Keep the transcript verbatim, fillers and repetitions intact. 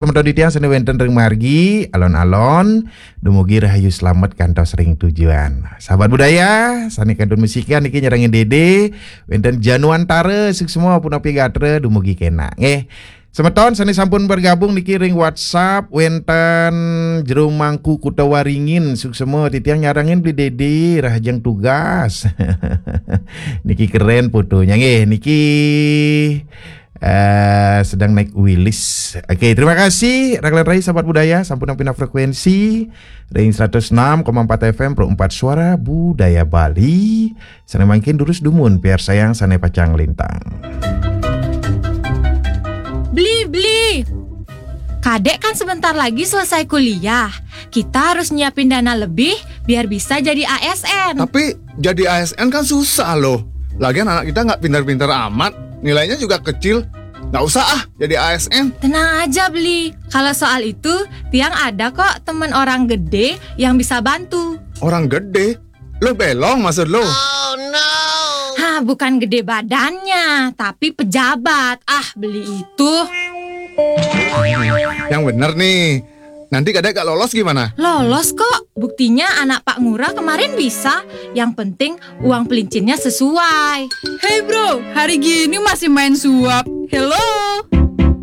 Semeton titiang sane wenten ring margi, alon-alon dumugi rahayu slamet kantos ring tujuan. Sahabat budaya, sane kantun musikan niki nyarengin Dede, wenten Januantara, suksma punapi gatra dumugi kenak. Nggih. Semeton sane sampun bergabung niki ring WhatsApp, wenten Jero Mangku Kuta Waringin, suksma titiang nyarengin Beli Dede, rahajeng tugas. Niki keren fotonya nggih, niki eh, sedang naik wilis. Oke, terima kasih rekan rai sahabat budaya, sampun pina frekuensi ring seratus enam koma empat F M Pro empat Suara Budaya Bali. Sane mangkin durus dumun piarsayang sane pacang lintang. Beli, beli. Kadek kan sebentar lagi selesai kuliah. Kita harus nyiapin dana lebih biar bisa jadi A S N. Tapi jadi A S N kan susah loh. Lagian anak kita nggak pintar-pintar amat, nilainya juga kecil. Nggak usah ah jadi A S N. Tenang aja, Beli. Kalau soal itu, tiang ada kok temen orang gede yang bisa bantu. Orang gede? Lo belong maksud lo? Hah, bukan gede badannya, tapi pejabat. Ah, Beli itu. Yang bener nih. Nanti kadek gak lolos gimana? Lolos kok. Buktinya anak Pak Ngurah kemarin bisa. Yang penting uang pelincinnya sesuai. Hey bro, hari gini masih main suap. Hello.